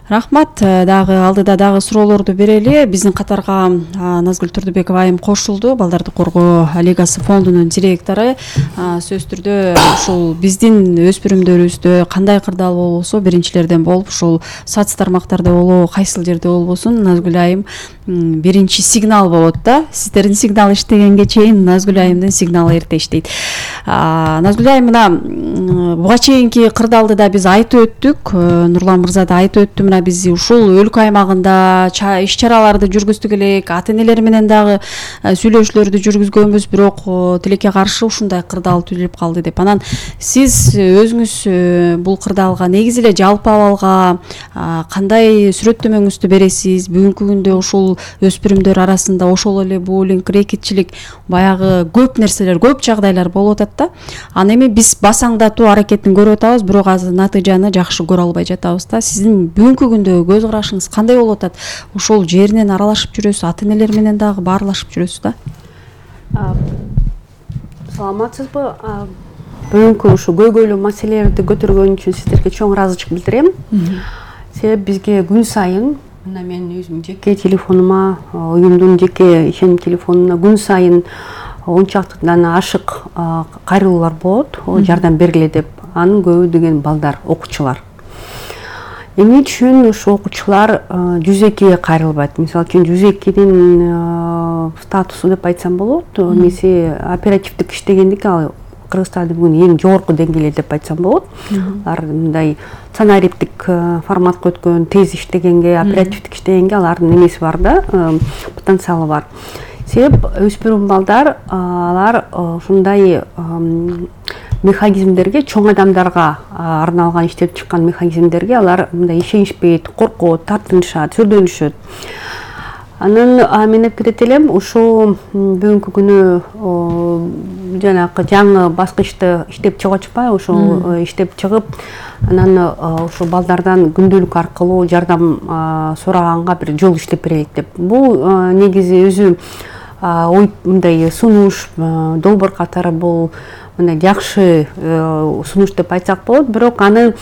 Рахмат. Дагы алдыда дагы суроолорду берели. Биздин катарга Назгүл Турдубекова айым кошулду. Балдарды коргоо лигасы фондунун директору. Сөзсүз түрдө ушул биздин өспүрүмдөрүбүздө кандай кырдаал болбосо биринчилерден болуп, ушул соц тармактарда болобу, кайсыл жерде болбосун, Назгүл айым биринчи сигнал болот да. Сиздердин сигнал иштегенге чейин Назгүл айымдын сигналы эрте иштейт. Назгүл айым мына буга чейинки кырдаалды да биз айтып өттүк. Нурлан мырза да айтып өттү. Мына биз ушул өлкө аймагында иш чараларды жүргүздүк элек, ата-энелер менен дагы сүйлөшүүлөрдү жүргүзгөнбүз, бирок тилекке каршы ушундай кырдаал түзүлүп калды деп. Анан сиз өзүңүз бул кырдаалга негизи эле жалпы абалга кандай сүрөттөмөңүздү бересиз? Бүгүнкү күндө ушул өспүрүмдөр арасында ошол эле буллинг, рекетчилик, баягы көп нерселер, көп жагдайлар болуп атат да. Аны эми биз басаңдатуу аракетин көрүп атабыз, бирок азыр натыйжаны жакшы көрө албай жатабыз да. Сиздин бүгүнкү күндө көз карашыңыз кандай болуп атат? Ошол жеринен аралашып жүрөсүз, ата-энелер менен дагы баарлашып жүрөсүз да? Саламатсызбы? Бүгүнкү ушу көйгөйлүү маселелерди көтөргөн үчүн сиздерге чоң ыраазычылык билдирем. Себеби бизге күн сайын, мына мен өзүмдүн жеке телефонума, уюмдун жеке ишеним телефонуна күн сайын 10 чактыдан ашык кайрылуулар болот, жардам бергиле деп. Анын көбү деген балдар, окуучулар. Эмне үчүн ушу окуучулар 102-ге кайрылбайт? Мисалы үчүн 102-дин статусу деп айтсам болот. Эмеси оперативдик иштегендик, ал Кыргызстанда бүгүн эң жогорку деңгээлде деп айтсам болот. Алар мындай сценариптик форматка өткөн, тез иштегенге, оперативдик иштегенге алардын эмеси бар да, потенциалы бар. Себеп өспүрүм балдар алар ушундай механизмдерге, чоң адамдарга арналган иштеп чыккан механизмдерге алар мындай ишенишпейт, коркот, тартынышат, сүрдөнүшөт. Анан мен айткет элем, ушул бүгүнкү күнү жанагы жаңы баскычты иштеп чыгып атышпайбы? Ошол иштеп чыгып, анан ушул балдардан күндөлүк аркылуу жардам сураганга бир жол иштеп берелик деп. Бул негизи өзү ой мындай сунуш, долбоор катары бул мындай жакшы сунуш деп айтсак болот, бирок аны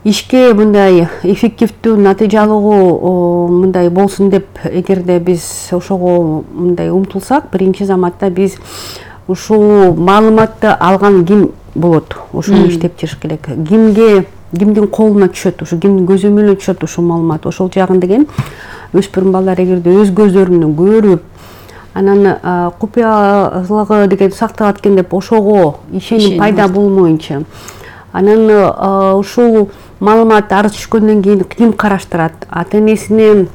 ишке мындай эффективдүү, натыйжалуу мындай болсун деп эгерде биз ошого мындай умтулсак, биринчи заматта биз ушул маалыматты алган ким болот, ошону иштеп чыгыш керек. Кимдин колуна түшөт, ушу кимдин көзөмөлүнө түшөт ушул маалымат. Ошол жагын деген өспүрүм балдар эгерде өз көздөрүнөн көрүп, анан купуялыгы деген сакталат экен деп ошого ишеним пайда болмоюнча, анан ушул маалымат арыз түшкөндөн кийин ким караштырат? Ата-энесине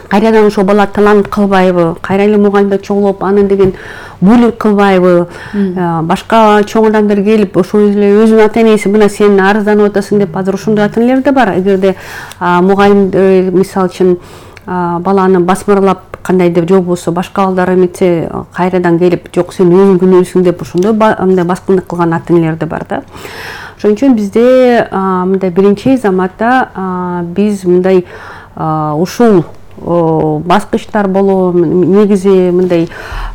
кайрадан ошол бала талант кылбайбы? Кайра эле мугалимдер чогулуп, аны деген буллинг кылбайбы? Башка чоң адамдар келип, ошол эле өзүнүн ата-энеси мына сен арызданып атасың деп, азыр ошондой ата-энелер да бар. Эгерде мугалимдер мисалы үчүн баланы басмырлап кандайдыр же болбосо башка балдар эметсе кайрадан келип, жок сен өзүң күнөөсүң деп ошондой мындай баскындык кылган ата-энелер да бар да. Ошон үчүн бизде мындай биринчи заматта биз мындай ушул баскычтар болобу, негизи мындай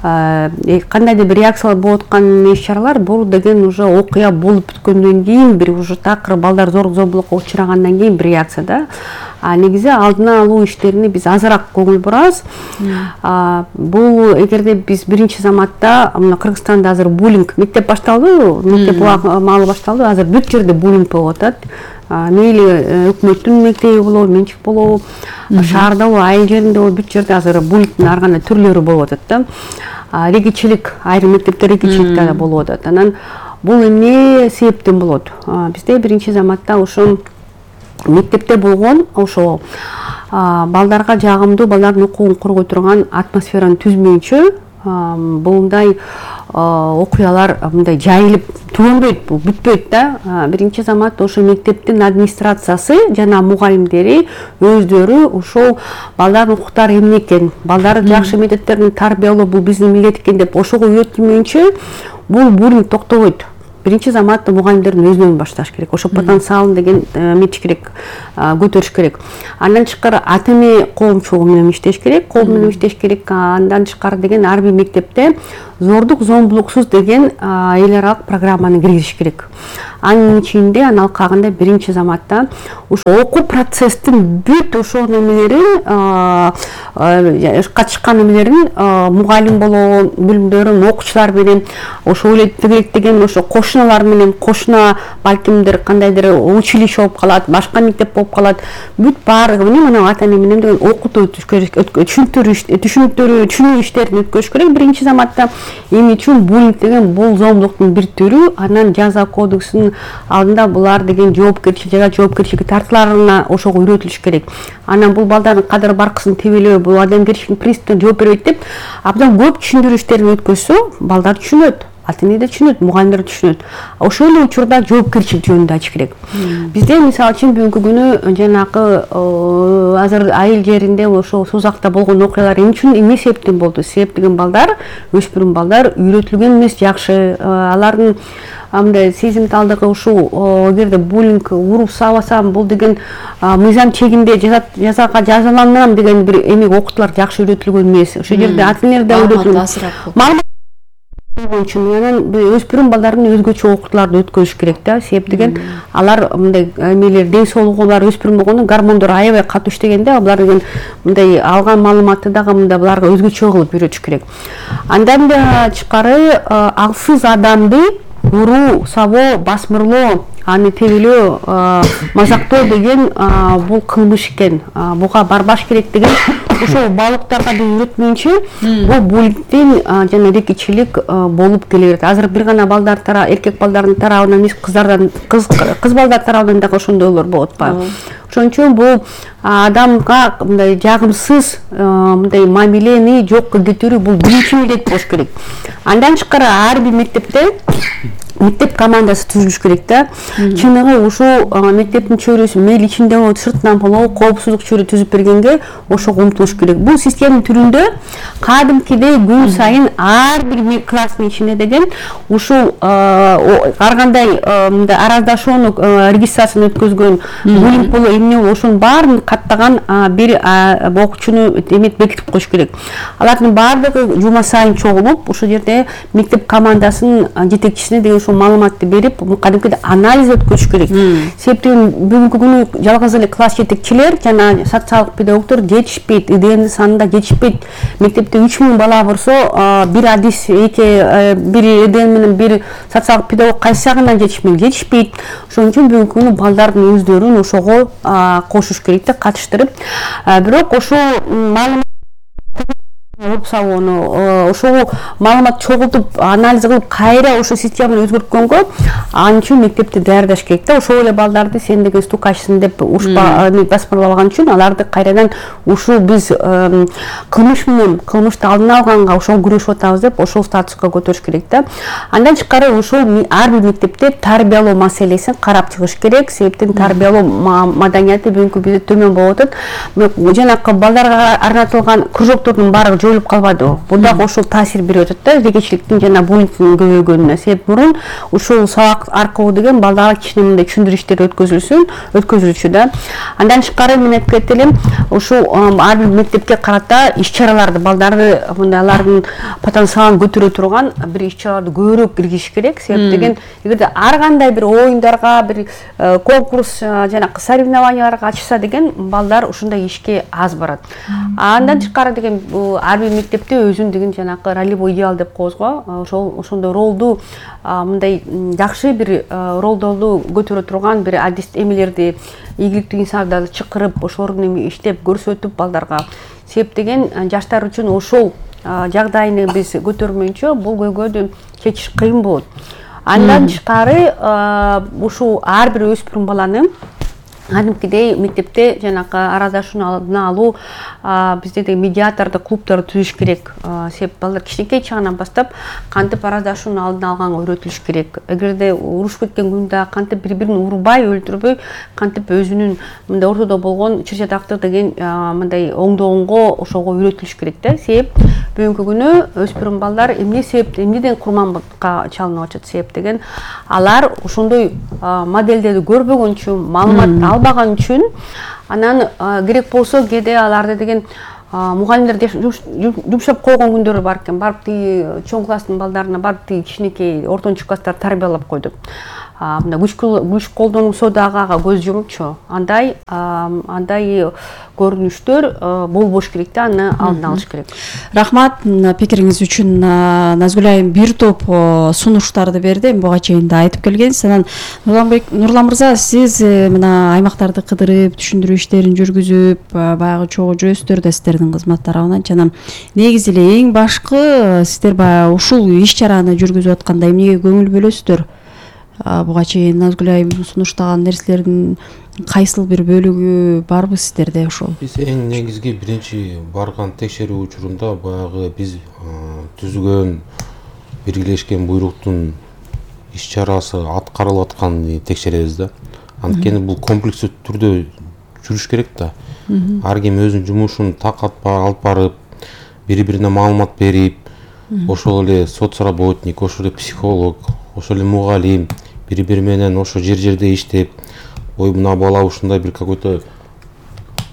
кандайдыр бир реакциялар болуп аткан иш-чаралар, бул деген уже окуя болуп бүткөндөн кийин, бир уже такыр балдар зомбулукка учрагандан кийин бир реакция да. Негизи алдына алуу иштерине биз азыраак көңүл бурабыз. Бул эгерде биз биринчи заматта мына Кыргызстанда азыр буллинг мектеп башталды, мектеп маалы башталды, азыр бүт жерде буллинг болуп атат. Мейли өкмөттүн мектеби болобу, менчик болобу, шаарда болобу, айыл жеринде болобу, бүт жерде азыр буллингдин ар кандай түрлөрү болуп атат да. Регичилик, айрым мектепте регичилик да болуп атат. Анан бул эмне себептен болот? Бизде биринчи заматта ошо мектепте болгон ошо балдарга жагымдуу, балдардын укугун коргой турган атмосфераны түзмөйүнчө мындай окуялар мындай жайылып түгөнбөйт, бул бүтпөйт да. Биринчи замат ошо мектептин администрациясы жана мугалимдери өздөрү ошол балдардын укуктары эмне экен, балдарды жакшы методдордон тарбиялоо бул биздин милдет экен деп ошого үйрөтүлмөйүнчө бул буллинг токтобойт. Биринчи заматта мугалимдердин өзүнөн башташ керек. Ошо потенциалын деген эметиш керек, көтөрүш керек. Андан тышкары ата-эне коомчулугу менен иштеш керек, кол менен иштеш керек. Андан тышкары деген ар бир мектепте зордук, зомбулуксуз деген эл аралык программаны киргизиш керек. анын ичинде анын алкагында биринчи заматта ошо окуу процесстин бүт ошол немелерин катышкан немелерин мугалим болгон бөлүмдөрүн окуучулар менен ошо тегеректеген ошо кошуналар менен кошуна балкимдир кандайдыр училище болуп калат, башка мектеп болуп калат, бүт баардыгын мына ата эне менен деген окутуу түшүнүктөрү иштерин өткөрүш керек биринчи заматта. Эмне үчүн буллинг деген бул зомбулуктун бир түрү, анан жаза кодексинин алдында булар деген жоопкерчиликке тартыларына ошого үйрөтүлүш керек. Анан бул балдардын кадыр баркысын тебелөө, бул адамгерчиликтин принципине жооп бербейт деп абдан көп түшүндүрүү иштерин өткөзсө, балдар түшүнөт. Ата эне да түшүнөт, мугалимдер түшүнөт. Ошол эле учурда жоопкерчилик жөнүндө ачыш керек. Бизде мисалы үчүн бүгүнкү күнү жанагы азыр айыл жеринде ошо Сузакта болгон окуялар эмне себептен болду? Себеп деген балдар, өспүрүм балдар үйрөтүлгөн эмес жакшы. Алардын мындай сезимталдыгы ушул эгерде буллинг уруп сабасам бул деген мыйзам чегинде жазага жазаланам деген бир эме окутуулар жакшы үйрөтүлгөн эмес. Ошол жерде ата энелер да үйрөтүлгөн. Анан өспүрүм балдарын өзгөчө окутууларды өткөзүш керек да. Себеп деген алар мындай эмелер ден соолугу бар өспүрүм болгондо гормондор аябай катуу иштегенде булар деген мындай алган маалыматты дагы мындай буларга өзгөчө кылып үйрөтүш керек. Андан да тышкары аксыз адамды уруу, сабоо, басмырлоо, аны тебелөө, мазактоо деген бул кылмыш экен. Буга барбаш керек деген ошол балыктарга да үйрөтмөйүнчө бул буллингдин жана рекичилик болуп келе берет. Азыр бир гана балдар эркек балдардын тарабынан эмес, кыз балдар тарабынан дагы ошондойлор болуп атпайбы? Ошон үчүн бул адамга мындай жагымсыз мындай мамилени жокко кетирүү бул биринчи милдет болуш керек. Андан тышкары ар бир мектепте мектеп командасы түзүлүш керек да. Чыныгы ушул мектептин чөйрөсү мейли ичинде болобу, сыртынан болобу коопсуздук чөйрө түзүп бергенге ошого умтулуш керек. Бул системенин түрүндө кадимкидей күн сайын ар бир класстын ичинде деген ушул ар кандай мындай араздашууну регистрацияны өткөзгөн буллинг болобу эмне болобу ошонун баарын каттаган бир окуучуну бекитип коюш керек. Алардын баардыгы жума сайын чогулуп, ошол жерде мектеп командасынын жетекчисине деген маалыматты берип, кадимкидей анализ өткөрүш керек. Себептен бүгүнкү күнү жалгыз эле класс жетекчилер жана социалдык педагогдор жетишпейт, ИДНдин санында жетишпейт. Мектепте 3000 бала болсо, бир адис бир ИДН менен бир социалдык педагог кайсы жагынан жетишпейт. Ошон үчүн бүгүнкү күнү балдардын өздөрүн ошого кошуш керек да, катыштырып. Бирок ошол маалымат ошол маалымат чогултуп анализ кылып кайра ошол системаны өзгөрткөнгө ал үчүн мектепти даярдаш керек да. Ошол эле балдарды сен деген стукачсың деп басмырлабаган үчүн аларды кайрадан ушул биз кылмышты алдын алганга ошол күрөшүп атабыз деп ошол статуска көтөрүш керек да. Андан тышкары ошол ар бир мектепте тарбиялоо маселесин карап чыгыш керек. Себептен тарбиялоо маданияты бүгүнкү бизде төмөн болуп атат. Жанакы балдарга арнатылган кружоктордун баары жоюлуп калбады. Бул дагы ошол таасир берип атат да, рекичиликтин жана буллингдин көбөйгөнүнө. Себеп мурун ушул сабак аркылуу деген балдарга кичине мындай түшүндүрүү иштери өткөзүлчү да. Андан тышкары мен айтып кетет элем, ушул ар бир мектепке карата иш-чараларды балдарды мындай алардын потенциалын көтөрө турган бир иш-чараларды көбүрөөк киргизиш керек. Себеп деген эгерде ар кандай бир оюндарга, бир конкурс жанакы соревнованияларга катышса деген балдар ушундай ишке аз барат. Андан тышкары деген ар бир мектепте өзүн деген жанакы ролевой идеал деп коебуз го. Ошондой ролду мындай жакшы бир ролдорду көтөрө турган бир адис эмелерди, ийгиликтүү инсандарды чакырып, ошолорду иштеп көрсөтүп балдарга. Себеп деген жаштар үчүн ошол жагдайны биз көтөрмөйүнчө бул көйгөйдү чечиш кыйын болот. Андан тышкары ушул ар бир өспүрүм баланы кадимкидей мектепте жанакы араздашууну алдын алуу, бизде деген медиаторду, клубдорду түзүш керек. Себеп балдар кичинекей чагынан баштап кантип араздашууну алдын алганга үйрөтүлүш керек. Эгерде урушуп кеткен күндө кантип бири-бирин урбай, өлтүрбөй, кантип өзүнүн мындай ортодо болгон чыр-чатакты деген мындай оңдогонго ошого үйрөтүлүш керек да. Себеп бүгүнкү күнү өспүрүм балдар эмнеден курманга чалынып атат? Себеп деген алар ошондой модельдерди көрбөгөн үчүн, маалымат албаган үчүн, анан керек болсо кээде аларды деген мугалимдер жумшап койгон күндөрү бар экен. Барып тиги чоң класстын балдарына барып тиги кичинекей ортончу класстарды тарбиялап койду. мына күч колдонсо дагы ага көз жумчу, андай көрүнүштөр болбош керек да, аны алдын алыш керек. Рахмат пикириңиз үчүн. Назгүл айым бир топ сунуштарды берди, буга чейин да айтып келгенсиз. Анан Нурлан мырза, сиз мына аймактарды кыдырып, түшүндүрүү иштерин жүргүзүп, баягы чогуу жүрөсүздөр да сиздердин кызмат тарабынан. Жана негизи эле эң башкы сиздер баягы ушул иш-чараны жүргүзүп атканда эмнеге көңүл бөлөсүздөр? Буга чейин Назгүл айым сунуштаган нерселердин кайсыл бир бөлүгү барбы сиздерде ошол? Биз эң негизги биринчи барган текшерүү учурунда баягы биз түзгөн биргелешкен буйруктун иш-чарасы аткарылып атканын текшеребиз да. Анткени бул комплекстүү түрдө жүрүш керек да. Ар ким өзүнүн жумушун так алып барып, бири-бирине маалымат берип, ошол эле соц работник, ошол эле психолог, ошол эле мугалим бири-бири менен ошо жерде иштеп, ой мына бала ушундай бир какой-то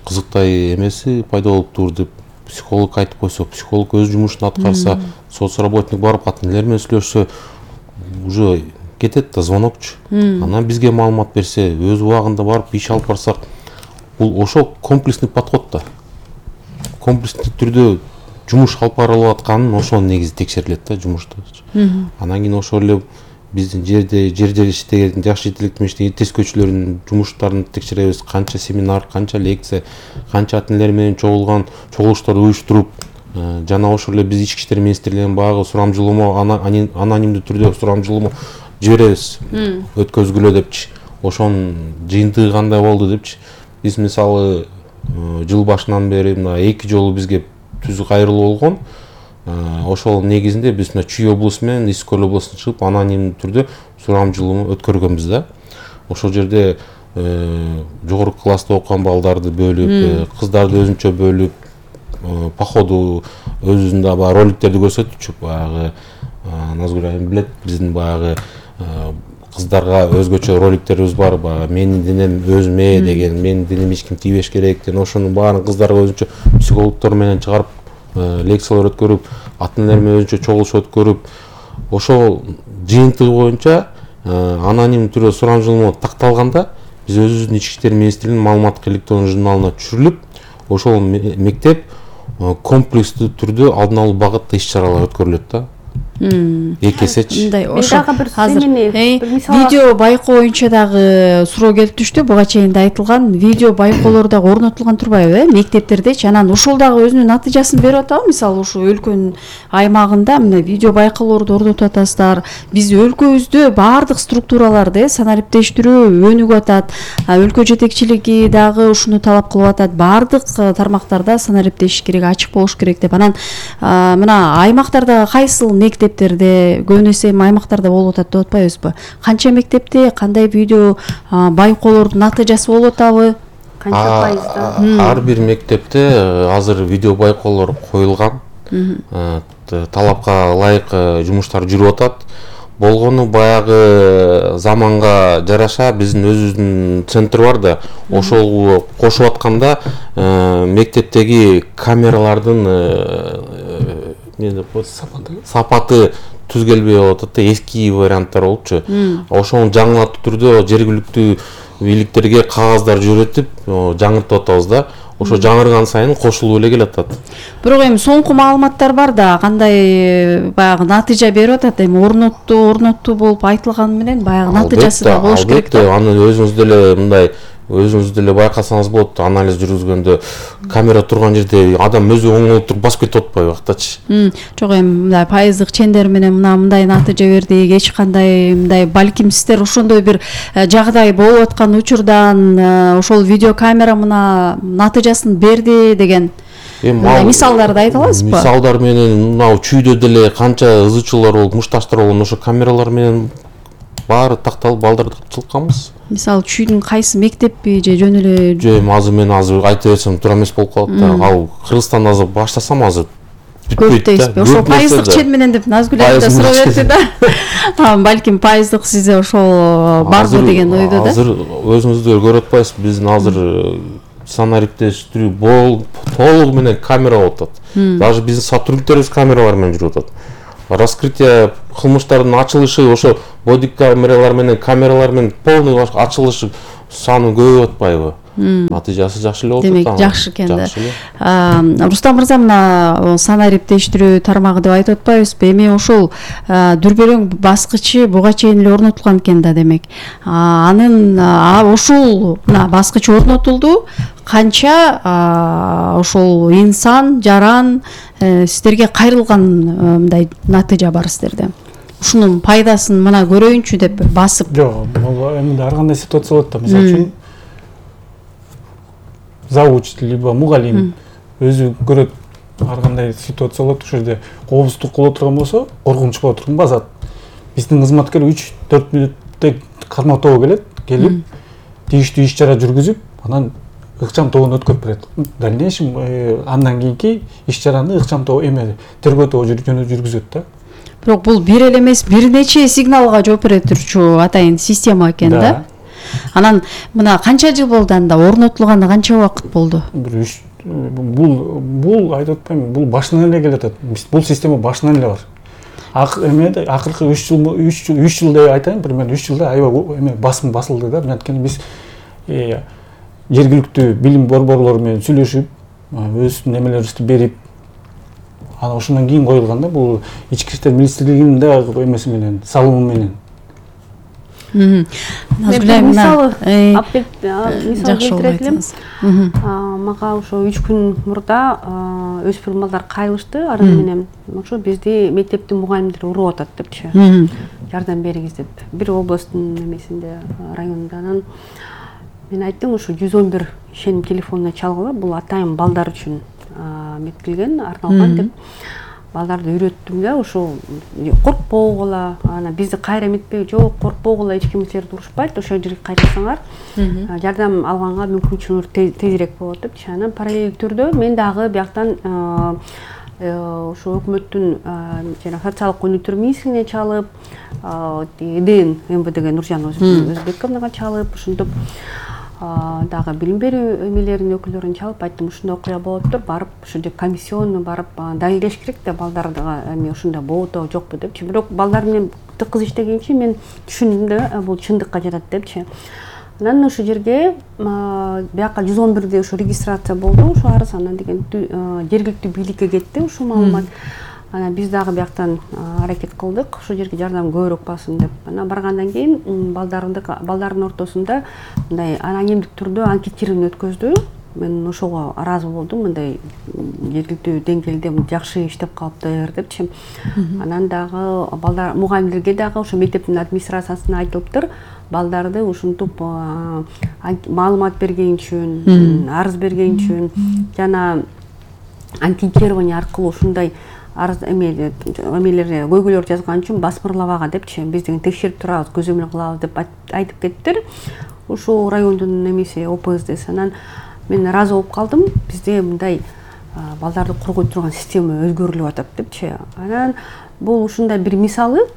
кызыктай эмеси пайда болуптур деп психолог айтып койсо, психолог өз жумушун аткарса, соцработник барып ата энелер менен сүйлөшсө, уже кетет да звонокчу. Анан бизге маалымат берсе, өз убагында барып иш алып барсак, бул ошол комплексный подход да. Комплекстүү түрдө жумуш алып барылып атканын ошол негизи текшерилет да жумушта. Анан кийин ошол эле биздин жерде иштеген жаш жетелектүү иштеген тескөөчүлөрдүн жумуштарын текшеребиз. Канча семинар, канча лекция, канча ата энелер менен чогулуштарды уюштуруп, жана ошол эле биз ички иштер министрлигинин баягы сурамжылоо, анонимдүү түрдө сурамжылоо жиберебиз. Өткөзгүлө депчи. Ошонун жыйынтыгы кандай болду депчи. Биз мисалы жыл башынан бери мына 2 жолу бизге түз кайрылуу болгон. Ошол негизинде биз Чүй облусу менен Исик Көл облусуна чыгып анонимдүү түрдө сурамжылоо өткөргөнбүз да. Ошол жерде жогорку класста окуган балдарды бөлүп, кыздарды өзүнчө бөлүп, по ходу өзүндө баягы роликтерди көрсөтүчү, баягы Назгүл айым билет, биздин баягы кыздарга өзгөчө роликтерибиз бар, баягы менин денем өзүмө деген, менин денем эч ким тийбеш керек деген, ошонун баарын кыздарга өзүнчө психологдор менен чыгарып лекциялар өткөрүп, ата энелер менен өзүнчө чогулуш өткөрүп, ошол жыйынтыгы боюнча аноним түрдө сурамжылоо такталганда биз өзүбүздүн ички иштер министрлигинин маалыматтык электрондук журналына түшүрүлүп, ошол мектеп комплекстүү түрдө алдын алуу багытта иш-чаралар өткөрүлөт да. Эки эсечи. Азыр видео байкоо боюнча дагы суроо келип түштү. Буга чейин да айтылган видео байкоолор дагы орнотулган турбайбы, мектептердечи? Анан ошол дагы өзүнүн натыйжасын берип атабы? Мисалы ушул өлкөнүн аймагында мына видео байкоолорду орнотуп атасыздар. Биз өлкөбүздө баардык структураларды санариптештирүү өнүгүп атат. Өлкө жетекчилиги дагы ушуну талап кылып атат. Баардык тармактарда санариптешиш керек, ачык болуш керек деп. Анан мына аймактарда кайсыл мектептерде, көбүн эсе аймактарда болуп атат деп атпайбызбы? Канча мектепте кандай видео байкоолордун натыйжасы болуп атабы? Канча пайызда? Ар бир мектепте азыр видео байкоолор коюлган. Талапка ылайык жумуштар жүрүп атат. Болгону баягы заманга жараша биздин өзүбүздүн центр бар да, ошол кошуп атканда мектептеги камералардын сапаты түз келбей атат да, эски варианттар болчу. Ошону жаңылтуу түрдө жергиликтүү бийликтерге кагаздар жөнөтүп жаңыртып атабыз да. Ошо жаңырган сайын кошулуп эле келатат. Бирок эми соңку маалыматтар бар да, кандай баягы натыйжа берип атат. Эми орноттуу болуп айтылганы менен баягы натыйжасы да болуш керек да. Албетте, аны өзүңүз деле мындай өзүңүз деле байкасаңыз болот, анализ жүргүзгөндө камера турган жерде адам өзү оңолуп туруп басып кетип атпайбы актачы. Жок, эми мындай пайыздык чендер менен мындай натыйжа бердик, эч кандай мындай балким сиздер ошондой бир жагдай болуп аткан учурдан ошол видеокамера мына натыйжасын берди деген мисалдарды айта аласызбы? Мисалдар менен мына Чүйдө деле канча ызычуулар болуп, мушташтар болгон, ошо камералар менен баары такталып балдарды чылкканбыз. Мисалы Чүйдүн кайсы мектеппи же жөн эле? Жок, азыр мен айта берсем туура эмес болуп калат да. Ал Кыргызстанда азыр баштасам азыр көп дейсизби? Ошо пайыздык чен менен деп Назгүл айым да суроо берди да. Балким пайыздык сизде ошол барбы деген ойдо да. Азыр өзүңүздөр көрүп атпайсызбы, биздин азыр санариптештирүү толугу менен камера болуп атат. Даже биздин сотрудниктерибиз камералар менен жүрүп атат. раскрытие кылмыштардын ачылышы ошо бодикамералар менен полный ачылышы саны көбөйүп атпайбы? Натыйжасы жакшы эле болуп атат. Демек жакшы экен да. Рустам мырза, мына санаа ириктештирүү тармагы деп айтып атпайбызбы? Эми ошол дүрбөлөң баскычы буга чейин эле орнотулган экен да, демек. Анын ушул мына баскыч орнотулду. Канча ошол инсан, жаран сиздерге кайрылган мындай натыйжа бар сиздерде? Ушунун пайдасын мына көрөйүнчү деп басып. Жок, эми ар кандай ситуация болот да. Мисалы үчүн завуч либо мугалим өзү көрөт, ар кандай ситуация болот. Ошол жерде коопсуздук боло турган болсо, коркунуч боло турган басат. Биздин кызматкер 3-4 мүнөттө карматоо келип, тийиштүү иш-чара жүргүзүп, анан ыкчам тобун өткөрүп берет. Дальнейшем андан кийинки иш-чараны ыкчам тобу тергөө тобу жүргүзөт да. Бирок бул бир эле эмес, бир нече сигналга жооп бере турчу атайын система экен да. Анан мына канча жыл болду анда орнотулганда, канча убакыт болду? Бул айтып атпайм, бул башынан эле келатат. Бул система башынан эле бар. Акыркы 3 жыл деп айтайын, примерно 3 жылда аябай басым басылды да. Анткени биз жергиликтүү билим борборлору менен сүйлөшүп, өз немелерибизди берип, анан ошондон кийин коюлган да. Бул ички иштер министрлигинин да эмеси менен, салымы менен. Мисалы келтире элем. Мага ошо 3 күн мурда өспүрүм балдар кайрылышты арыз менен. Ошо бизди мектептин мугалимдери уруп атат депчи. Жардам бериңиз деп. Бир областтын эмесинде, районунда. Анан мен айттым, ошо 111 ишеним телефонуна чалгыла, бул атайын балдар үчүн меткилген, арналган деп. Балдарды үйрөттүм да, ошо коркпогула, ана бизди кайра эметпей, жок коркпогула, эч ким силерди урушпайт, ошол жерге кайтсаңар, жардам алганга мүмкүнчүлүгү тезирээк болот депчи. Анан параллелдүү түрдө мен дагы бияктан ошо өкмөттүн жана социалдык өнүктүрүү министрлигине чалып, ЭДН МВДге Нуржан Өзбековнага чалып, ошентип дагы билим берүү эмелеринин өкүлдөрүн чалып айттым, ушундай окуя болуптур, барып ошо жерде комиссионный барып далилдеш керек да, балдардыга эми ушундай болобу жокпу депчи. Бирок балдар менен тыкыз иштегенчи мен түшүндүм да, бул чындыкка жатат депчи. Анан ошо жерге бияка 111де ошо регистрация болду, ошо арыз, анан деген жергиликтүү бийликке кетти ушул маалымат. Анан биз дагы бияктан аракет кылдык, ошол жерге жардам көбүрөөк бассын деп. Анан баргандан кийин балдардын ортосунда мындай анонимдик түрдө анкетирование өткөздү. Мен ошого ыраазы болдум, мындай жергиликтүү деңгээлде жакшы иштеп калыптыр депчи. Анан дагы балдар мугалимдерге дагы ошо мектептин администрациясына айтылыптыр, балдарды ушинтип маалымат берген үчүн, арыз берген үчүн жана анкетирование аркылуу ушундай арыз эмелерди көйгөйлөр жазган үчүн басмырлабага депчи, биз деген текшерип турабыз, көзөмөл кылабыз деп айтып кеттир. Ушул райондун эмеси ОПСДСи. Анан мен ыраазы болуп калдым, бизде мындай балдарды коргой турган система өзгөрүлүп атат депчи. Анан бул ушундай бир мисалы.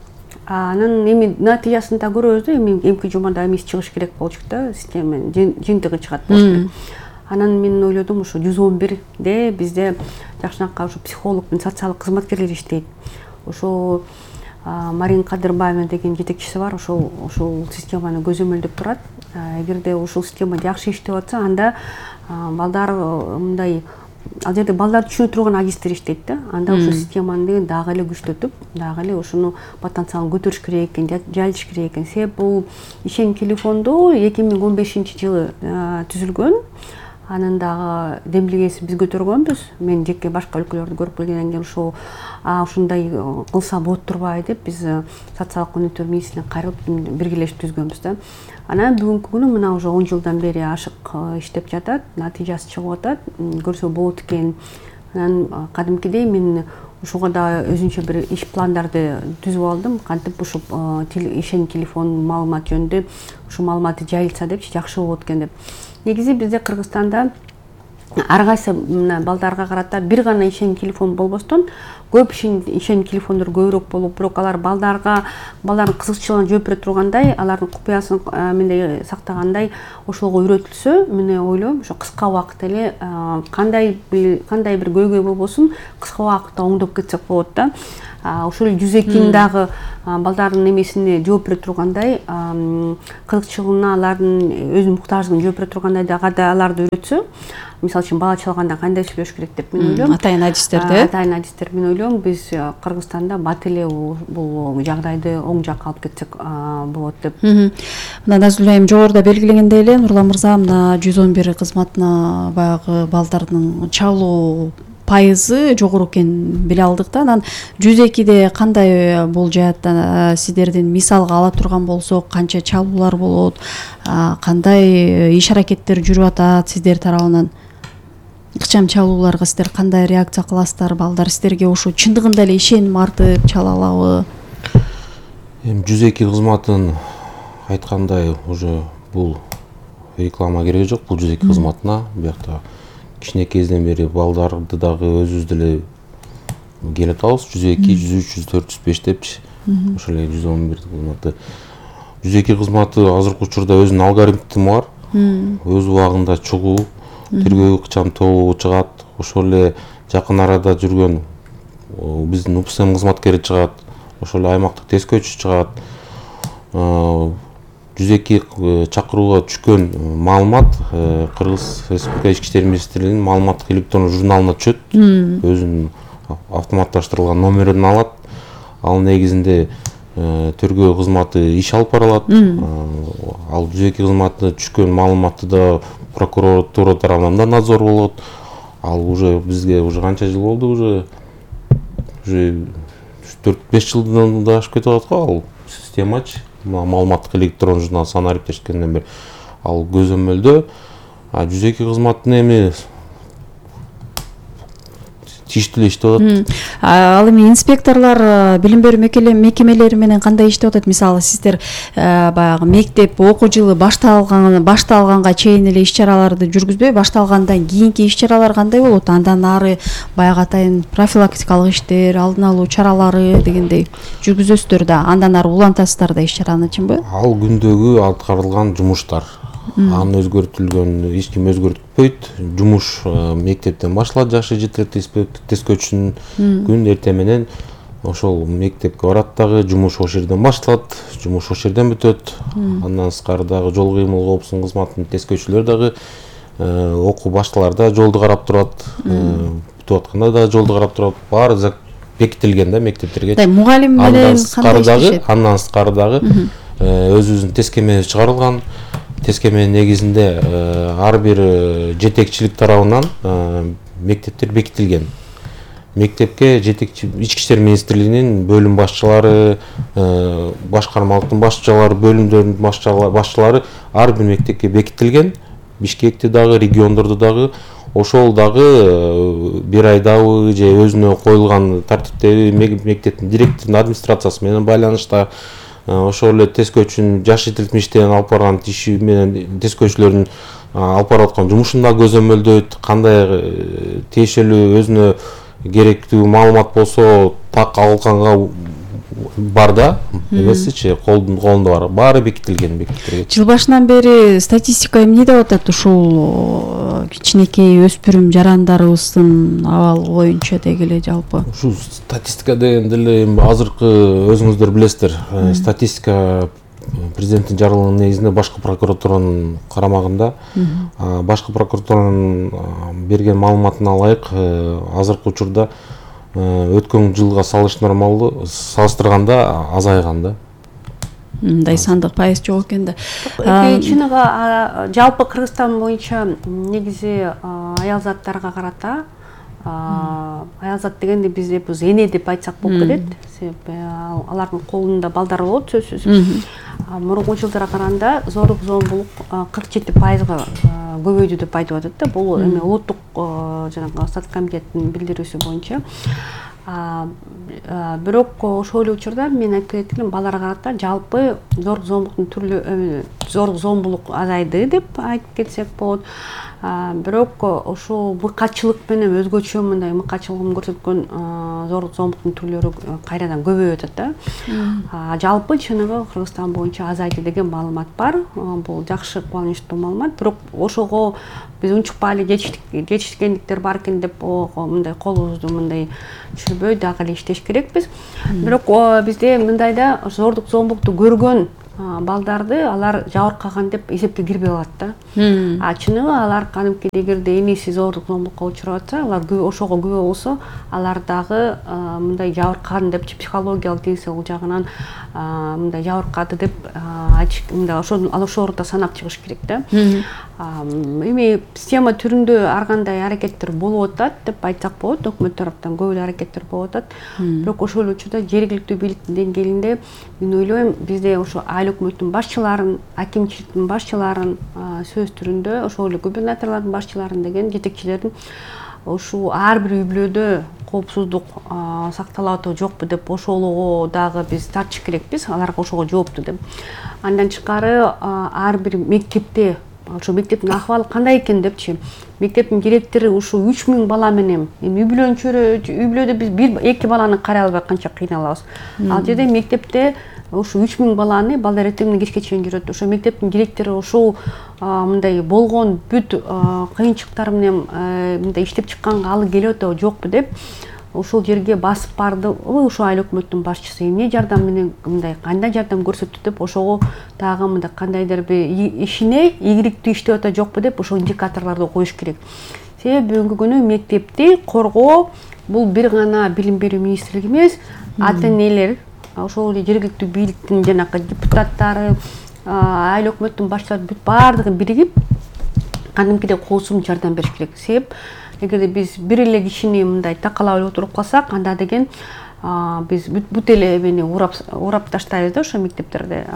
Анан эми натыйжасын да көрөбүз да, эми эмки жумада эмес чыгыш керек болчу да, системанын жыйынтыгы чыгат болчу. Анан мен ойлодум, ошо 111де бизде жакшынакка ошо психолог менен социалдык кызматкерлер иштейт. Ошо Марин Кадырбаева деген жетекчиси бар, ошол системаны көзөмөлдөп турат. Эгерде ушул система жакшы иштеп атса, анда балдар мындай ал жерде балдарды түшүнө турган агисттер иштейт да. Анда ошол системаны дагы эле күчтөтүп, дагы эле ошону потенциалын көтөрүш керек экен, жайылтыш керек экен. Себеп бул ишеним телефонду 2015-жылы түзүлгөн. Анын дагы демилгесин биз көтөргөнбүз. Мен жеке башка өлкөлөрдү көрүп келгенден кийин ушундай кылса болот турбайбы деп биз социалдык өнүктүрүү министрлигине кайрылып биргелешип түзгөнбүз да. Анан бүгүнкү күнү мына уже 10 жылдан бери ашык иштеп жатат, натыйжасы чыгып атат, көрсө болот экен. Анан кадимкидей мен ошого да өзүнчө бир иш пландарды түзүп алдым. Кантип ушул ишеним телефонунун маалыматы жөнүндө ушул маалыматы жайылса депчи, жакшы болот экен деп. Негизи бизде Кыргызстанда ар кайсы балдарга карата бир гана ишеним телефон болбостон, көп ишеним телефондор көбүрөөк болуп, бирок алар балдардын кызыкчылыгына жооп бере тургандай, алардын купуясын мындай сактагандай ошолго үйрөтүлсө, мен ойлойм, ошо кыска убакытта эле кандай бир көйгөй болбосун, кыска убакытта оңдоп кетсек болот да. ошол 102 дагы балдардын эмесине жооп бере тургандай, кызыкчылыгына, алардын өз муктаждыгын жооп бере тургандай да аларды үйрөтсө, мисалы үчүн бала чалганда кандай сүйлөш керек деп мен ойлойм. Атайын адистерди. Атайын адистер мен ойлойм, биз Кыргызстанда бат эле бул жагдайды оң жакка алып кетсек болот деп. Мына Назгүл айым жогоруда белгилегендей эле, Нурлан мырза мына 111 кызматына баягы балдардын чалуу пайызы жогору экенин биле алдык да. Анан 102де кандай бул жаатта сиздердин мисалга ала турган болсок, канча чалуулар болот, кандай иш аракеттер жүрүп атат сиздер тарабынан? Ыкчам чалууларга сиздер кандай реакция кыласыздар? Балдар сиздерге ушу чындыгында эле ишеним артып чала алабы? Эми 102 кызматын айткандай уже бул реклама кереги жок, бул 102 кызматына. Биякта кичинекейден бери балдарды дагы өзүбүз деле келип атабыз. 102, 103, 104, 105 депчи. Ошол эле 111 кызматы. 102 кызматы азыркы учурда өзүнүн алгоритми бар. Өз убагында чыгуу, тергөө ыкчам тобу чыгат. Ошол эле жакын арада жүргөн биздин УПСМ кызматкери чыгат. Ошол эле аймактык тескөөчү чыгат. 102 чакырууга түшкөн маалымат Кыргыз Республика Ички иштер министрлигинин маалыматтык электрондук журналына түшөт. Өзүнүн автоматташтырылган номерин алат. Ал негизинде тергөө кызматы иш алып барылат. Ал 102 кызматына түшкөн маалыматты да прокуратура тарабынан да надзор болот. Ал уже бизге уже канча жыл болду, уже 4-5 жылдан да ашып кетип атат го ал системачы. Маалыматтык электрондук журнал санариптешкенден бери ал көзөмөлдө. 102 кызматтын эми тиештүү эле иштеп атат. Ал эми инспекторлор билим берүү мекемелери менен кандай иштеп атат? Мисалы сиздер баягы мектеп окуу жылы башталганга чейин эле иш-чараларды жүргүзбөй, башталгандан кийинки иш-чаралар кандай болот? Андан ары баягы атайын профилактикалык иштер, алдын алуу чаралары дегендей жүргүзөсүздөр да, андан ары улантасыздар да иш-чараны, чынбы? Ал күндөгү аткарылган жумуштар. Аны өзгөртүлгөн эч ким өзгөртпөйт. Жумуш мектептен башталат, жашы жеткиликтүү тескөөчүнүн күн эртең менен ошол мектепке барат дагы, жумуш ошол жерден башталат, жумуш ошол жерден бүтөт. Андан сырткары дагы жол кыймыл коопсуздук кызматынын тескөөчүлөр дагы окуу башталарда жолду карап турат, бүтүп атканда дагы жолду карап турат. Баары бекитилген да мектептерге. Мугалим менен кандай иштешет? Андан сырткары дагы өзүбүздүн тескемебиз чыгарылган. Тескеменин негизинде ар бир жетекчилик тарабынан мектептер бекитилген. Мектепке жетекчи Ички иштер министрлигинин бөлүм башчылары, башкармалыктын башчылары, бөлүмдөрдүн башчылары ар бир мектепке бекитилген. Бишкекте дагы, региондордо дагы, ошол дагы бир айдабы же өзүнө коюлган тартиптеби мектептин директорунун администрациясы менен байланышта. Ошол эле тескөөчүнүн жаш жетилтим иштен алып барган иши менен тескөөчүлөрдүн алып барып аткан жумушун да көзөмөлдөйт. Кандай тиешелүү өзүнө керектүү маалымат болсо так алганга бар да, эмесичи колунда бар. Баары бекитилген мектептерге. Жыл башынан бери статистика эмне деп атат ушул кичинекей өспүрүм жарандарыбыздын абалы боюнча дегиле жалпы? Ушу статистика дегенде эле азыркы өзүңүздөр билесиздер, статистика президенттин жарлыгынын негизинде башкы прокуратуранын карамагында. Башкы прокуратуранын берген маалыматына ылайык азыркы учурда өткөн жылга салыштырганда азайган да. Мындай сандык пайыз жок экен да. Чыныгы жалпы Кыргызстан боюнча негизи аял заттарга карата, аял зат дегенде бизде бул эне деп айтсак болуп кетет. Себеби алардын колунда балдар болот сөзсүз. Мурунку жылдарга караганда зорлук зомбулук 47%га көбөйдү деп айтып атат да. Бул эми улуттук жанагы Стат комитеттин билдирүүсү боюнча. Бирок ошол эле учурда мен айтып кеткеним балдарга карата жалпы зорлук зомбулуктун түрлү зорлук зомбулук азайды деп айтып кетсек болот. Бирок ошол мыкачылык менен өзгөчө мындай мыкачылыгын көрсөткөн зорлук зомбулуктун түрлөрү кайрадан көбөйүп атат да. Жалпы чыныгы Кыргызстан боюнча азайды деген маалымат бар. Бул жакшы, кубанычтуу маалымат. Бирок ошого биз унчукпай эле жетишкендиктер бар экен деп мындай колубузду мындай түшүрүп жүргүзбөй дагы эле иштеш керекпиз. Бирок бизде мындайда зордук зомбукту көргөн балдарды алар жабыркаган деп эсепке кирбей калат да. Чыныгы алар кадимкидей эгерде энеси зордук зомбукка учурап атса, алар ошого күбө болсо, алар дагы мындай жабыркаган деп психологиялык денсаулык жагынан мындай жабыркады деп айтыш, мындай ошол ордо санап чыгыш керек да. Эми система түрүндө ар кандай аракеттер болуп атат деп айтсак болот, өкмөт тараптан көп эле аракеттер болуп атат. Бирок ошол эле учурда жергиликтүү бийликтин деңгээлинде мен ойлойм, бизде ошо айыл өкмөттүн башчыларын, акимчиликтин башчыларын сөз түрүндө, ошол эле губернаторлордун башчыларын деген жетекчилердин ушул ар бир үй бүлөдө коопсуздук сакталып атабы жокпу деп ошолго дагы биз тартыш керекпиз, аларга ошого жоопту деп. Андан тышкары ар бир мектепте ошо мектептин акыбалы кандай экен депчи, мектептин директору ушул 3000 бала менен, эми үй бүлөдө биз 1-2 баланы карай албай канча кыйналабыз. Ал жерде мектепте ушул 3000 баланы балдар эртеңден кечке чейин жүрөт. Ошо мектептин директору ушул мындай болгон бүт кыйынчылыктар менен мындай иштеп чыкканга алы келип атабы жокпу деп ошол жерге басып барды. Ошо айыл өкмөттүн башчысы эмне жардам менен мындай кандай жардам көрсөттү деп ошого дагы мындай кандайдыр бир ишине ийгиликтүү иштеп атат жокпу деп ошол индикаторлорду коюш керек. Себеби бүгүнкү күнү мектепти коргоо бул бир гана билим берүү министрлиги эмес, ата-энелер, ошол эле жергиликтүү бийликтин жанакы депутаттары, айыл өкмөттүн башчылары бүт баардыгы биригип кадимкидей коопсуз жардам бериш керек. Себеп эгерде биз бир эле кишини мындай такалап эле отуруп калсак, анда деген биз бүт эле эмени урап таштайбыз да ошо мектептерде.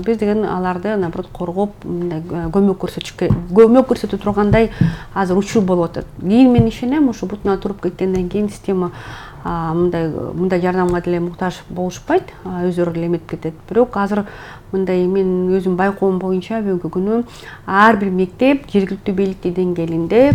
Биз деген аларды наоборот коргоп, мындай көмөк көрсөтө тургандай азыр учур болуп атат. Кийин мен ишенем, ошо бутуна туруп кеткенден кийин система мындай жардамга деле муктаж болушпайт, өздөрү эле эметип кетет. Бирок азыр мындай мен өзүм байкоом боюнча бүгүнкү күнү ар бир мектеп жергиликтүү бийликтин деңгээлинде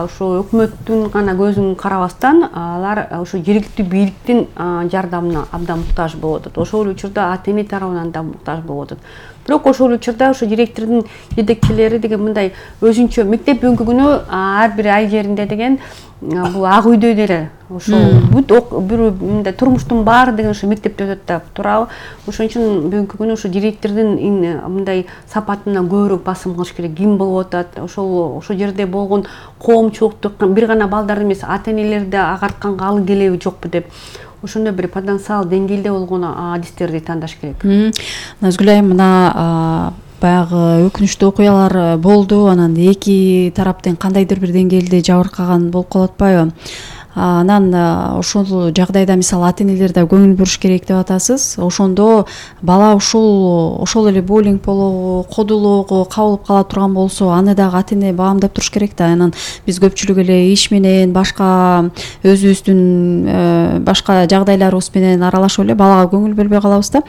ошо өкмөттүн гана көзүн карабастан алар ошо жергиликтүү бийликтин жардамына абдан муктаж болуп атат. Ошол учурда ата-эне тарабынан да муктаж болуп атат. Бирок ошол учурда ошо директордун жетекчилери деген мындай өзүнчө мектеп бүгүнкү күнү ар бир айыл жеринде деген бул ак үйдөй деле ошол бүт бир мындай турмуштун баары деген ошо мектепте өтөт да туурабы. Ошон үчүн бүгүнкү күнү ошо директордун мындай сапатына көбүрөөк басым кылыш керек. Ким болуп атат, ошол жерде болгон коомчулукту бир гана балдар эмес, ата-энелерди агартканга алы келеби жокпу деп ошондой бир потенциал деңгээлде болгон адистерди тандаш керек. Назгүл айым, мына баягы өкүнүчтүү окуялар болду, анан эки тараптын кандайдыр бир деңгээлде жабыркаган болуп калып атпайбы? Анан ошол жагдайда мисалы ата-энелер да көңүл буруш керек деп атасыз. Ошондо бала ошол эле буллинг болобу, кодулоого кабылып кала турган болсо, аны дагы ата-эне баамдап туруш керек да. Анан биз көпчүлүк эле иш менен, башка өзүбүздүн башка жагдайларыбыз менен аралашып эле балага көңүл бөлбөй калабыз да.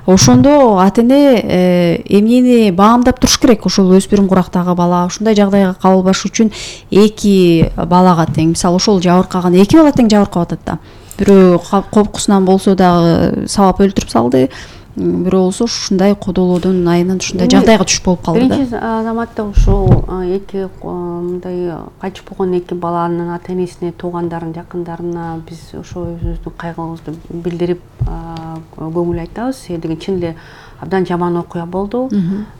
Ошондо ата-эне эмнени баамдап туруш керек? Ошол өспүрүм курактагы бала ушундай жагдайга кабылбаш үчүн эки балага тең, мисалы ошол жабыркаган эки бала тең жабыркап атат да. Бирөө коркусунан болсо дагы сабап өлтүрүп салды, бирөө болсо ушундай кодолоодун айынан ушундай жагдайга түшүп болуп калды да. Биринчи заматта ушул эки мындай кайтып болгон эки баланын ата-энесине, туугандарын, жакындарына биз ошо өзүбүздүн кайгыбызды билдирип көңүл айтабыз. Себеби чын эле абдан жаман окуя болду.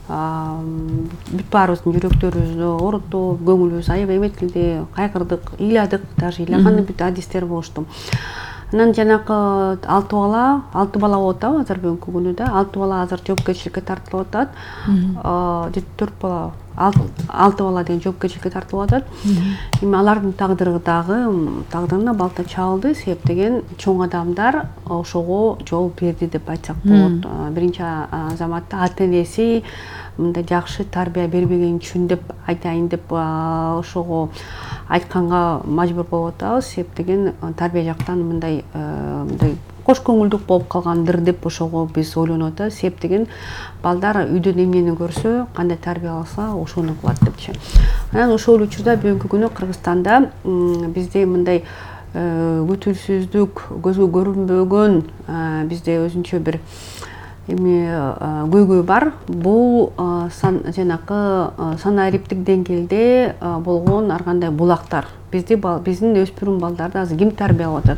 Бүт баарыбыздын жүрөктөрүбүздү ооруту, көңүлүбүз аябай эметилди, кайгырдык, ыйладык, даже ыйлаган бүт адистер болушту. Анан жанакы 6 бала болуп атабы азыр бүгүнкү күнү да. 6 бала азыр жоопкерчиликке тартылып атат. 4 бала, 6 бала деген жоопкерчиликке тартылып атат. Эми алардын тагдырына балта чабылды. Себеп деген чоң адамдар ошого жол берди деп айтсак болот. Биринчи заматта ата-энеси мындай жакшы тарбия бербеген үчүн деп айтайын деп ошого айтканга мажбур болуп атабыз. Себеп деген тарбия жактан мындай кош көңүлдүк болуп калгандыр деп ошого биз ойлонуп атабыз. Себеп деген балдар үйдөн эмнени көрсө, кандай тарбия алса, ошону кылат депчи. Анан ошол учурда бүгүнкү күнү Кыргызстанда бизде мындай күтүлсүздүк, көзгө көрүнбөгөн бизде өзүнчө бир көйгөй бар. Бул жанакы санариптик деңгээлде болгон ар кандай булактар. Биздин өспүрүм балдарды азыр ким тарбиялап атат?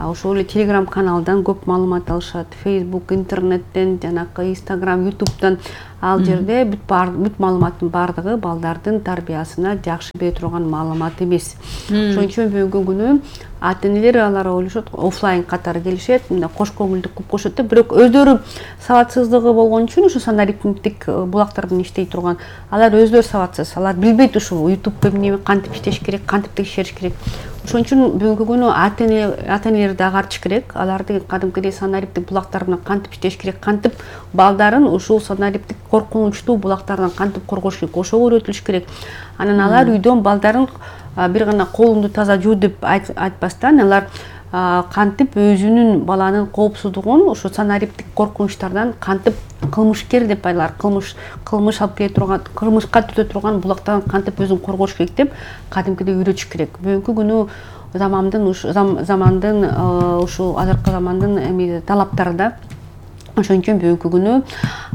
ошол эле Telegram каналдан көп маалымат алышат, Facebook, интернеттен, жанакы Instagram, YouTube'дан. Ал жерде бүт маалыматтын бардыгы балдардын тарбиясына жакшы бере турган маалымат эмес. Ошон үчүн бүгүнкү күнү ата-энелер алар ойлошот, офлайн катары келишет, мындай кош көңүлдүк кылып коюшат да, бирок өздөрү сабатсыздыгы болгон үчүн ушу санариптик булактардан иштей турган, алар өздөрү сабатсыз, алар билбейт ушул YouTube эмне, кантип иштеш керек, кантип текшериш керек. Ошон үчүн бүгүнкү күнү ата-энелерди агартыш керек, аларды кадимкидей санариптик булактар менен кантип иштеш керек, кантип балдарын ушул санариптик коркунучтуу булактардан кантип коргош керек, ошого үйрөтүлүш керек. Анан алар үйдөн балдарын бир гана колумду таза жуу деп айтпастан, алар кантип өзүнүн баланын коопсуздугун ушу санариптик коркунучтардан кантип кылмышкер деп алар кылмыш алып келе турган, кылмышка түтө турган булактан кантип өзүн коргош керек деп кадимкидей үйрөтүш керек. Бүгүнкү күнү замандын ушул азыркы замандын талаптары да. Ошон үчүн бүгүнкү күнү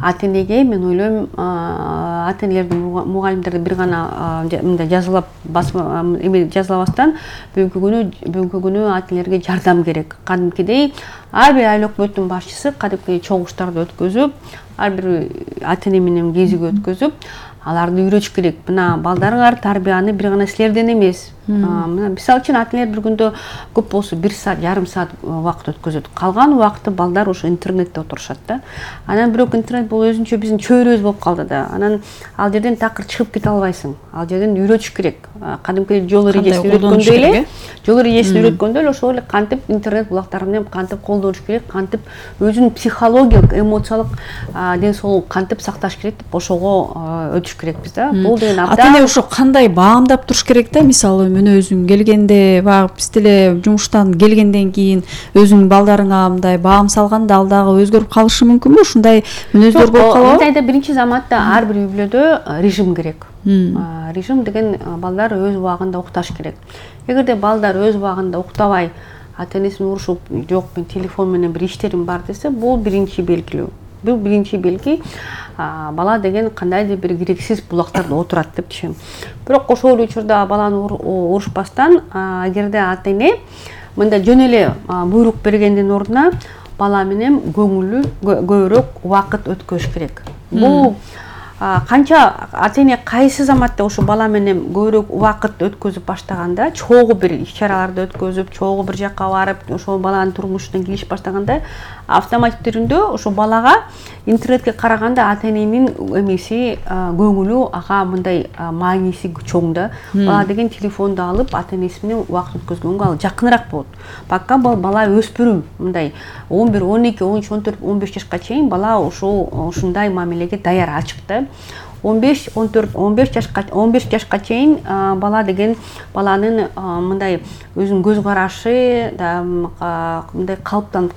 ата-энеге мен ойлойм, ата-энелердин мугалимдерди бир гана мындай жазылап жазылабастан бүгүнкү күнү ата-энелерге жардам керек. Кадимкидей ар бир айыл өкмөттүн башчысы кадимкидей чогуштарды өткөзүп, ар бир ата-эне менен кезиги өткөзүп, аларды үйрөтүш керек. Мына балдарыңар тарбияны бир гана силерден эмес. Мына мисалы үчүн ата-энелер бир күндө көп болсо 1 саат, жарым саат убакыт өткөзөт. Калган убакытты балдар ошо интернетте отурушат да. Анан бирок интернет бул өзүнчө биздин чөйрөбүз болуп калды да. Анан ал жерден такыр чыгып кете албайсың. Ал жерден үйрөтүш керек. Кадимкидей жол эрежесин үйрөткөндөй эле, ошол эле кантип интернет булактары менен кантип колдонуш керек, кантип өзүнүн психологиялык, эмоциялык ден соолугун кантип сакташ керек деп ошого өтүш керекпиз да. Бул деген ата-эне ошо кандай баамдап туруш керек да, мисалы мына өзүң келгенде, баягы биз деле жумуштан келгенден кийин өзүңүн балдарыңа мындай баам салганда ал дагы өзгөрүп калышы мүмкүнбү? Ушундай мүнөздөр болуп калабы? Мындайда биринчи заматта ар бир үй бүлөдө режим керек. Режим деген балдар өз убагында укташ керек. Эгерде балдар өз убагында уктабай, ата-энесин урушуп, жок мен телефон менен бир иштерим бар десе, бул биринчи белгилүү. Бул биринчи белги, бала деген кандайдыр бир керексиз булактарда отурат деп түшүнөм. Бирок ошол учурда баланы урушпастан, эгерде ата-эне мындай жөн эле буйрук бергендин ордуна бала менен көбүрөөк убакыт өткөзүш керек. Бул канча ата-эне кайсы заматта ошо бала менен көбүрөөк убакыт өткөзүп баштаганда, чогуу бир иш-чараларды өткөзүп, чогуу бир жакка барып, ошол баланын турмушуна кириш баштаганда, автоматик түрүндө ошо балага интернетке караганда ата-эненин эмеси, көңүлү ага мындай мааниси чоң да. Бала деген телефонду алып, ата-энеси менен убакыт өткөзгөнгө ал жакыныраак болот. Бака бала өспүрүм, мындай 11, 12, 13, 14, 15 жашка чейин бала ушундай мамилеге даяр, ачык да. 15, 14, 15 жашка чейин бала деген баланын мындай өзүнүн көз карашы мындай калыптанып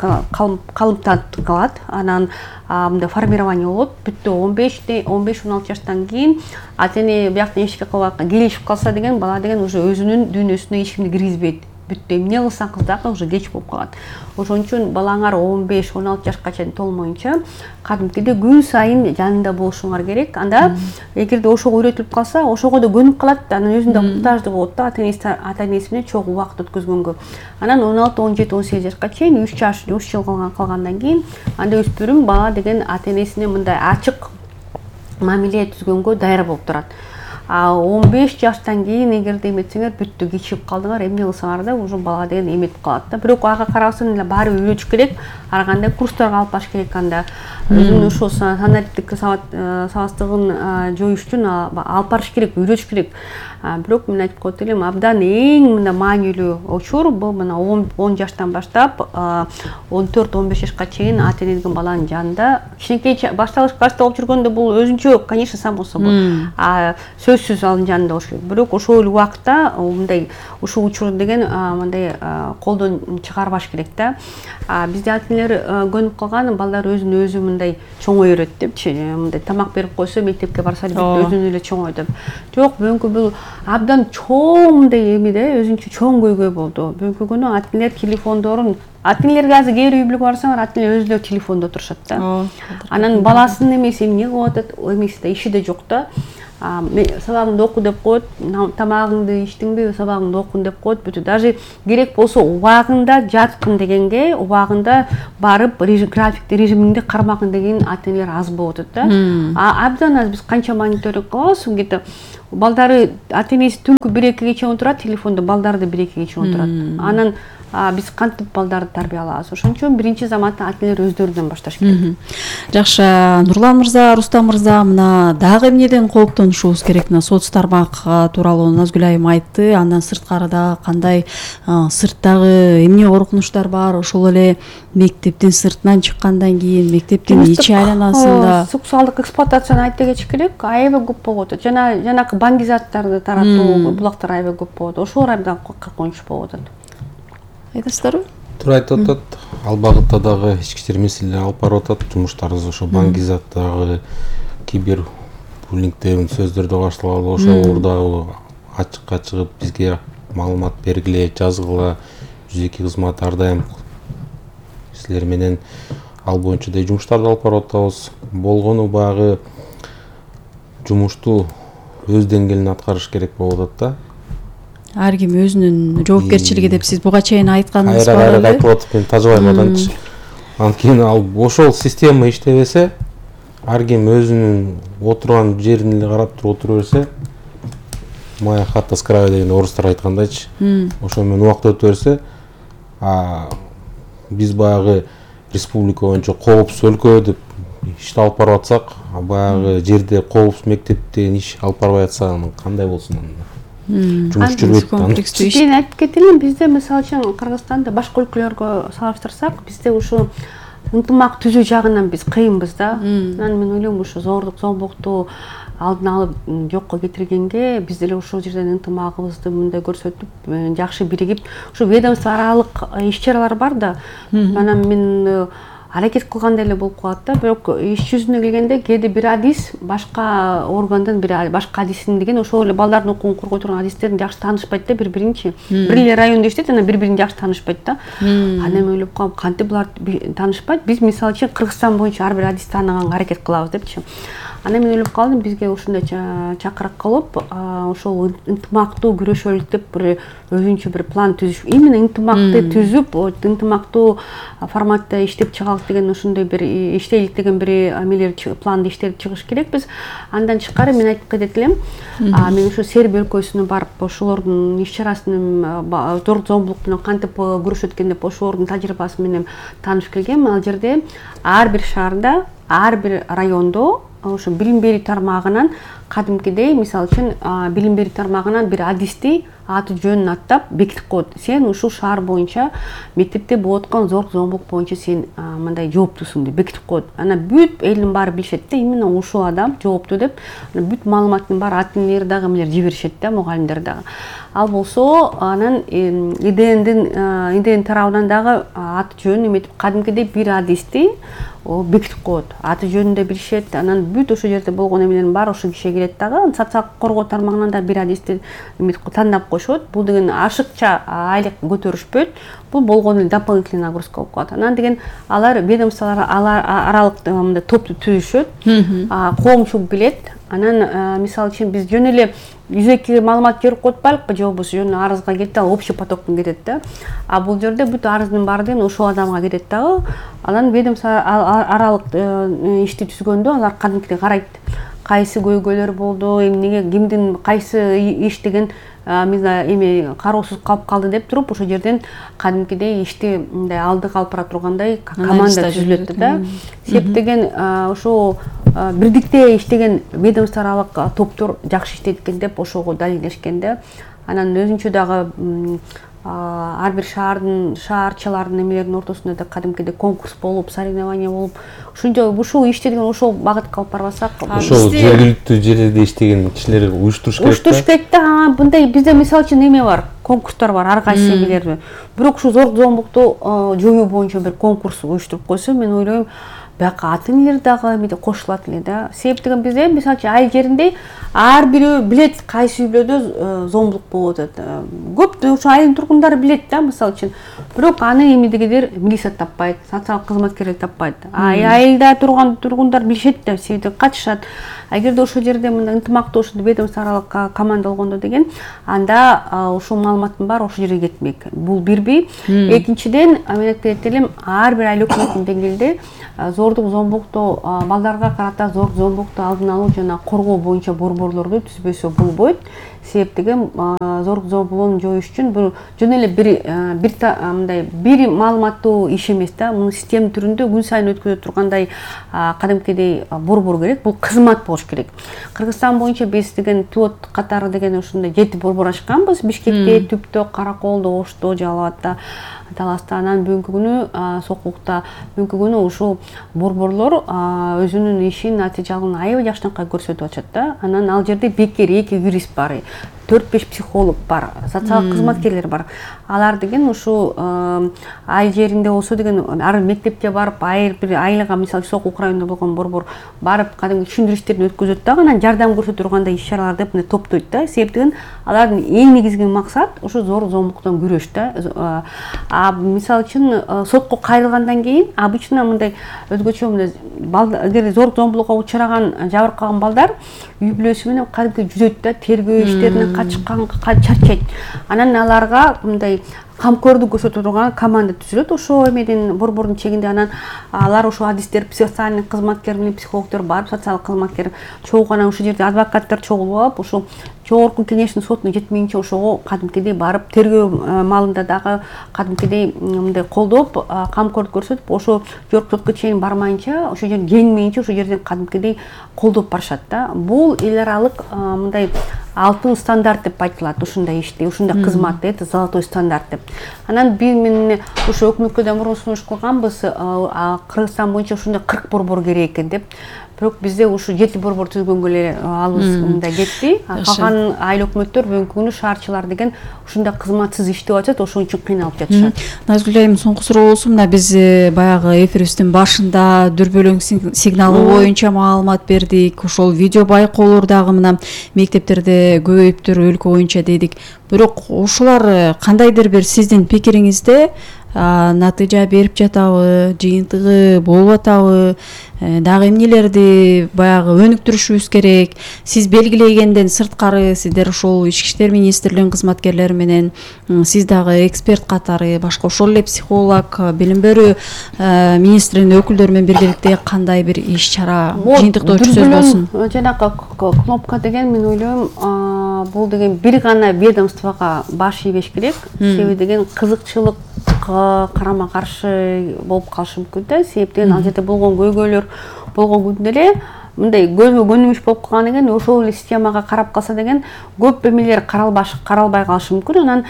калат. Анан мындай формирование болот. Бүттү 15-16 жаштан кийин ата-эне бияктан эчке келишип калса деген бала деген уже өзүнүн дүйнөсүнө эч кимди киргизбейт. Бүттү эмне кылсаң кыл дагы уже кеч болуп калат. Ошон үчүн балаңар 15-16 жашка чейин толмоюнча кадимкидей күн сайын жанында болушуңар керек. Анда эгерде ошого үйрөтүлүп калса, ошого да көнүп калат да, анан өзүндө муктаждыгы болот да ата-энеси менен чогуу убакыт өткөзгөнгө. Анан 16, 17, 18 жашка чейин 3 жыл калгандан кийин анда өспүрүм бала деген ата-энесине мындай ачык мамиле түзгөнгө даяр болуп турат. 15 жаштан кийин эгерде эметсеңер бүттү, кечигип калдыңар, эмне кылсаңар да уже бала деген эметип калат да. Бирок ага карабастан эле баары үйрөтүш керек, ар кандай курстарга алып барыш керек анда. Өзүнүн ушул санариптик сабатсыздыгын жоюш үчүн алып барыш керек, үйрөтүш керек. Бирок мен айтып коет элем, абдан эң мына маанилүү учур бул мына 10 жаштан баштап 14-15 жашка чейин ата-эне деген баланын жанында кичинекей башталып жүргөндө бул өзүнчө, конечно, само собой. Сөзсүз анын жанында болуш керек. Бирок ошол эле убакытта мындай ушул учур деген мындай колдон чыгарбаш керек да. Бизде ата-энелер көнүп калган, балдар өзүн өзү мындай чоңойрот депчи, мындай тамак берип койсо мектепке барса өзүнө эле чоңой деп. Жок, бүгүнкү бул абдан чоң мындай эмеде, өзүнчө чоң көйгөй болду. Бүгүнкү күнү ата-энелер телефондорун, ата-энелерге азыр кээ бир үй бүлөгө барсаңар, ата-энелер өзүлөрү телефондо отурушат да. Анан баласынын эмеси эмне кылып атат, эмеси да иши да жок да. сабагыңды оку деп коет, тамагыңды ичтиңби, сабагыңды окуң деп коет, бүтү. Даже керек болсо убагында жаткын дегенге, убагында барып графикти, режимиңди кармагын деген ата-энелер аз болуп атат да. Абдан аз. Биз канча мониторинг кылабыз, где-то балдары ата-энеси түнкү 1-2 чейин отурат, телефондо балдары да 1-2 чейин отурат. Анан биз кантип балдарды тарбиялабыз? Ошон үчүн биринчи заматта ата-энелер өздөрүнөн башташ керек. Жакшы, Нурлан мырза, Рустам мырза, мына дагы эмнеден кооптонушубуз керек? Мына соц тармак тууралуу Назгүл айым айтты. Андан сырткарыда кандай сырттагы эмне коркунучтар бар? Ошол эле мектептин сыртынан чыккандан кийин, мектептин ичи айланасында сексуалдык эксплуатацияны айта кетиш керек. Аябай көп болуп атат. Жанакы баңгизаттарды таратуу, булактар аябай көп болуп атат. Ошолор абдан коркунуч болуп атат. Айтасыздарбы? Туура айтып атат. Ал багытта дагы ички иштер маселелери алып барып атат. Жумуштарыбыз ошо баңгизаттагы кибер буллинг деген сөздөрдү башталгалы, ошолор дагы ачыкка чыгып бизге маалымат бергиле, жазгыла. 102 кызмат ар дайым силер менен ал боюнча да жумуштарды алып барып атабыз. Болгону баягы жумушту өз деңгээлинде аткарыш керек болуп атат да. Ар ким өзүнүн жоопкерчилиги деп сиз буга чейин айтканыңыз бар эле. Айтып атып, мен тажыбайм аданчы. Анткени ал ошол система иштебесе, ар ким өзүнүн отурган жерин эле карап туруп отура берсе, моя хата с краю деген орустар айткандайчы. Ошо менен убакыт өтө берсе, биз баягы республика боюнча коопсуз өлкө деп ишти алып барып атсак, баягы жерде коопсуз мектеп деген иш алып барбай атса, кандай болсун анда? Жумуш жүрбөйт. Мен айтып кетелин, бизде мисалы үчүн Кыргызстанда башка өлкөлөргө салыштырсак, бизде ушу ынтымак түзүү жагынан биз кыйынбыз да. Анан мен ойлойм, ушу зордук, зомбулукту алдын алып жокко кетиргенге биз деле ошол жерден ынтымагыбызды мындай көрсөтүп, жакшы биригип, ушу ведомство аралык иш-чаралар бар да. Анан мен аракет кылгандай эле болуп калат да, бирок иш жүзүнө келгенде кээде бир адис башка органдын башка адисин деген ошол эле балдардын укугун коргой турган адистердин жакшы таанышпайт да бири-биринчи. Бир эле райондо иштейт, анан бири-бирин жакшы таанышпайт да. Анан мен ойлоп калам, кантип булар таанышпайт? Биз мисалы үчүн Кыргызстан боюнча ар бир адисти тааныганга аракет кылабыз депчи. Анан мен ойлоп калдым, бизге ушундай чакырык кылып, ошол ынтымактуу күрөшөлүк деп бир өзүнчө бир план түзүш. Именно ынтымакты түзүп, ынтымактуу форматта иштеп чыгалык деген ошондой бир иштейлик деген бир эмелер планды иштеп чыгыш керекпиз. Андан тышкары мен айтып кетет элем, мен ошо Сербия өлкөсүнө барып, ошолордун иш-чарасын зор зомбулук менен кантип күрөшөт экен деп ошолордун тажрыйбасы менен таанышып келгем. Ал жерде ар бир шаарда, ар бир райондо ошо билим берүү тармагынан кадимкидей, мисалы үчүн билим берүү тармагынан бир адисти аты жөнүн аттап бекитип коет. Сен ушул шаар боюнча мектепте болуп аткан зор зомбулук боюнча сен мындай жооптусуң деп бекитип коет. Анан бүт элдин баары билишет да, именно ушул адам жооптуу деп. Бүт маалыматтын баары ата-энелер дагы эмелер жиберишет да, мугалимдер дагы. Ал болсо анан идеянын тарабынан дагы аты жөнүн эметип кадимкидей бир адисти бекитип коет. Аты жөнүн да билишет. Анан бүт ошол жерде болгон эмелердин баары ошол кишиге келет дагы. Социалдык коргоо тармагынан да бир адисти тандап коюшот. Бул деген ашыкча айлык көтөрүшпөйт. Бул болгону эле дополнительный нагрузка болуп калат. Анан деген алар ведомстволор аралык мындай топту түзүшөт. Коомчулук билет. Анан мисалы үчүн биз жөн эле жүзөккө маалымат жиберип коюп атпайлыкпы, же болбосо жөн арызга кетти, ал общий потоктон кетет да. А бул жерде бүт арыздын баары деген ошол адамга кетет дагы. Анан ведомство аралык ишти түзгөндө алар кадимкидей карайт. Кайсы көйгөйлөр болду, эмнеге, кимдин кайсы иш деген эме кароосуз калып калды деп туруп, ошол жерден кадимкидей ишти мындай алдыга алып бара тургандай команда түзүлөт да. Септеген ошо бирдикте иштеген ведомство аралык топтор жакшы иштейт экен деп ошого далилдешкен да. Анан өзүнчө дагы ар бир шаарчалардын эмелердин ортосунда да кадимкидей конкурс болуп, соревнование болуп, ушул ишти деген ошол багытка алып барбасак, ошол жергиликтүү жерде иштеген кишилер уюштуруш керек да. Мындай бизде мисалы үчүн эме бар, конкурстар бар ар кайсы эмелерде. Бирок ушул зор зомбулукту жоюу боюнча бир конкурс уюштуруп койсо, мен ойлойм, бияка ата-энелер дагы эметип кошулат эле да. Себеп деген бизде мисалы үчүн ай жеринде ар бирөө билет кайсы үйлөрдө зомбулук болуп атат. Көп ошо айылдын тургундары билет да, мисалы үчүн бирок аны эмнедегидир милиция таппайт, социалдык кызматкерлер таппайт. Айылда тургундар билишет да, себеби катышат. Эгерде ошол жерде мындай ынтымактуу ведомство аралык команда болгондо деген, анда ушул маалыматтын баары ошол жерге кетмек. Бул бирби. Экинчиден, мен айтып элем, ар бир айыл өкмөтүнүн деңгээлде зордук зомбулукту, балдарга карата зордук зомбулукту алдын алуу жана коргоо боюнча борборлорду түзбөсө болбойт. Себеп деген зордук зомбулууну жоюш үчүн бул жөн эле бир маалыматтуу иш эмес да. Муну система түрүндө күн сайын өткөзө тургандай кадимкидей борбор керек. Бул кызмат болуш керек. Кыргызстан боюнча биз деген пилот катары деген ушундай 7 борбор ачканбыз. Бишкекте, Түптө, Караколдо, Ошто, Жалал Абадта, Таласта, анан бүгүнкү күнү Сокулукта, бүгүнкү күнү ушул борборлор өзүнүн ишин натыйжалын аябай жакшынакай көрсөтүп атышат да. Анан ал жерде бекер 2 юрист бар, 4-5 психолог бар, социалдык кызматкерлер бар. Алар деген ушу айыл жеринде болсо деген ар мектепке барып, бир айылга, мисалы Сокулук районунда болгон борбор барып, кадимки түшүндүрүштөрүн өткөзөт дагы, анан жардам көрсөтө тургандай иш-чаралар деп мындай топтойт да. Себеп деген алардын эң негизги максат ушу зордук зомбулуктан күрөш да. Мисалы үчүн сотко кайрылгандан кийин обычно мындай өзгөчө мындай эгер зордук зомбулукка учураган, жабыркаган балдар үй бүлөсү менен кадимки жүзөт да, тергөө иштеринен качкан, чарчайт. Анан аларга мындай камкордук көрсөтө турган команда түзүлөт ошо эмедин борбордун чегинде. Анан алар ошо адистер, социальный кызматкер менен психологдор барып, социалдык кызматкер чогуу, анан ошол жерде адвокаттар чогулуп алып, ошо жогорку кеңештин сотуна жетмейинче ошого кадимкидей барып, тергөө маалында дагы кадимкидей мындай колдоп, камкордук көрсөтүп, ошо жогорку сотко чейин бармайынча, ошо жерден жеңмейинче ошо жерден кадимкидей колдоп барышат да. Бул эл аралык мындай алтын стандарт деп айтылат ушундай ишти, ушундай кызматты, это золотой стандарт деп. Анан мен ошо өкмөткө да мурун сунуш кылганбыз, Кыргызстан боюнча ушундай 40 борбор керек экен деп. Бирок бизде ушу 7 борбор түзгөнгө эле алыбыз мындай кетти. Калган айыл өкмөттөр бүгүнкү күнү шаарчылар деген ушундай кызматсыз иштеп атат, ошон үчүн кыйналып жатышат. Назгүл айым, соңку суроо болсун. Мына биз баягы эфирибиздин башында дүрбөлөң сигналы боюнча маалымат бердик. Ошол видео байкоолор дагы мына мектептерде көбөйүптүр өлкө боюнча дедик. Бирок ушулар кандайдыр бир сиздин пикириңизде натыйжа берип жатабы, жыйынтыгы болуп атабы, дагы эмнелерди баягы өнүктүрүшүбүз керек? Сиз белгилегенден сырткары сиздер ошол Ички иштер министрлигинин кызматкерлери менен, сиз дагы эксперт катары, башка ошол эле психолог, билим берүү министринин өкүлдөрү менен биргеликте кандай бир иш-чара, жыйынтыктоо сөз болсун? Жанагы кнопка деген, мен ойлойм, бул деген бир гана ведомствого баш ийбеш керек. Себеби деген кызыкчылык карама каршы болуп калышы мүмкүн да. Себеп деген ал жерде болгон көйгөйлөр болгон күндө эле мындай көзгө көнүмүш болуп калган экен, ошол эле системага карап калса деген көп эмелер каралбай калышы мүмкүн. Анан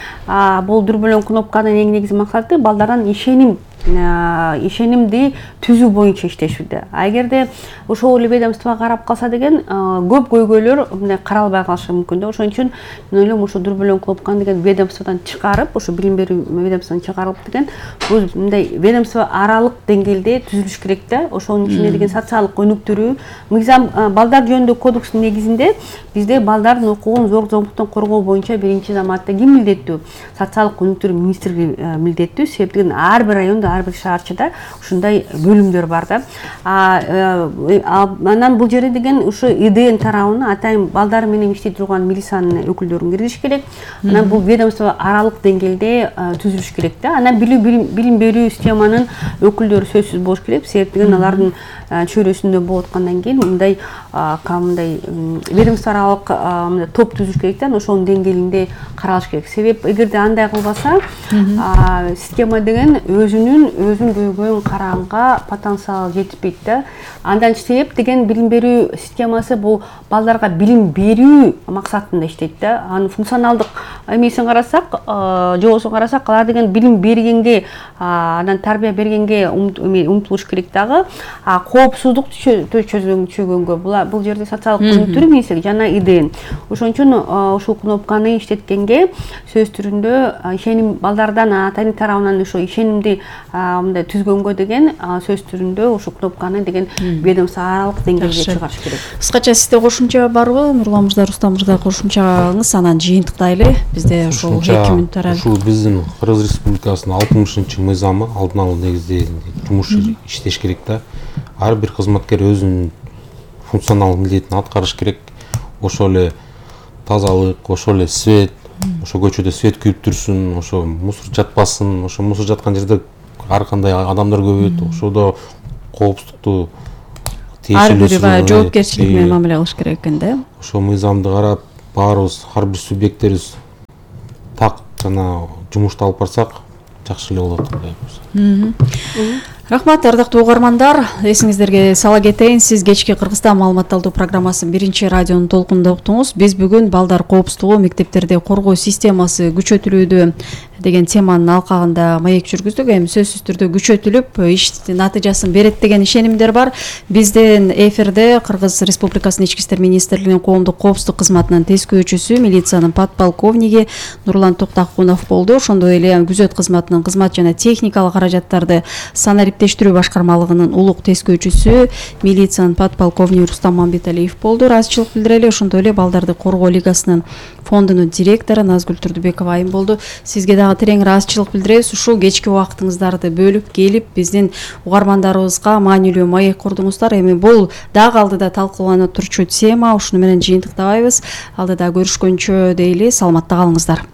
бул дүрбөлөң кнопканын эң негизги максаты балдардан ишенимди түзүү боюнча иштешүүдө. Эгерде ошол эле ведомствого карап калса деген көп көйгөйлөр мындай каралбай калышы мүмкүн да. Ошон үчүн мен ойлойм ошо дүрбөлөң кнопканы деген ведомстводон чыгарып, ошо билим берүү ведомстводон чыгарылып деген бул мындай ведомство аралык деңгээлде түзүлүш керек да. Ошонун ичинде деген социалдык өнүктүрүү, мыйзам балдар жөнүндө кодекстин негизинде бизде балдардын укугун зордук зомбулуктан коргоо боюнча биринчи заматта ким милдеттүү? Социалдык өнүктүрүү министрлиги милдеттүү. Себеп деген ар бир райондо, ар бир шаарчыда ушундай бөлүмдөр бар да. Анан бул жерде деген ушу ИДН тарабына атайын балдар менен иштей турган милициянын өкүлдөрүн киргизиш керек. Анан бул ведомство аралык деңгээлде түзүлүш керек да. Анан билим берүү системанын өкүлдөрү сөзсүз болуш керек. Себеп деген алардын чөйрөсүндө болуп аткандан кийин мындай ведомство аралык топ түзүш керек да. Ошонун деңгээлинде каралыш керек. Себеп эгерде андай кылбаса, система деген өзүн көйгөйүн караганга потенциал жетишпейт да. Андан себеп деген билим берүү системасы бул балдарга билим берүү максатында иштейт да. Анын функционалдык эмесин карасак, жоосун карасак, алар деген билим бергенге, анан тарбия бергенге умтулуш керек дагы. Коопсуздук чөгөнгө бул жерде социалдык өнүктүрүү министрлиги жана ИДН. Ошон үчүн ушул кнопканы иштеткенге сөз түрүндө ишеним балдардан, атайын тарабынан ошо ишенимди мындай түзгөнгө деген сөз түрүндө ошо кнопканы деген ведомство аралык деңгээлге чыгарыш керек. Кыскача сизде кошумча барбы, Нурлан мырза, Рустам мырза, кошумчаңыз анан жыйынтыктайлы. Бизде ошол 2 мүнөт аралык. Ушул биздин Кыргыз Республикасынын 60 мыйзамы алдын ала негизде жумуш иштеш керек да. Ар бир кызматкер өзүнүн функционал милдетин аткарыш керек. Ошол эле тазалык, ошол эле свет, ошо көчөдө свет күйүп турсун, ошо мусор жатпасын, ошо мусор жаткан жерде ар кандай адамдар көбөйөт, ошодо коопсуздукту ар бири баягы жоопкерчилик менен мамиле кылыш керек экен да. Ошо мыйзамды карап, баарыбыз ар бир субъекттерибиз так жана жумушту алып барсак жакшы эле болот деп. Рахмат, ардактуу угармандар. Эсиңиздерге сала кетейин, сиз кечки Кыргызстан маалыматталдуу программасын 1-радионун толкунунда уктуңуз. Биз бүгүн балдар коопсуздугу, мектептерде коргоо системасы күчөтүлүүдө деген теманын алкагында маек жүргүздүк. Эми сөзсүз түрдө күчөтүлүп, иш натыйжасын берет деген ишенимдер бар. Бизден эфирде Кыргыз Республикасынын Ички иштер министрлигинин коомдук коопсуздук кызматынын тескөөчүсү, милициянын подполковниги Нурлан Токтакунов болду. Ошондой эле күзөт кызматынын кызмат жана техникалык каражаттарды санариптештирүү башкармалыгынын улук тескөөчүсү, милициянын подполковниги Рустам Мамбеталиев болду. Ыраазычылык билдирели. Ошондой эле балдарды коргоо лигасынын фондунун директору Назгүл Турдубекова айым болду. Сизге дагы терең ыраазычылык билдиребиз. Ушул кечки убактыңыздарды бөлүп келип биздин угармандарыбызга маанилүү маек курдуңуздар. Эми бул дагы алдыда талкууланып турчу тема. Ушуну менен жыйынтыктабайбыз. Алдыда көрүшкөнчө дейли. Саламатта калыңыздар.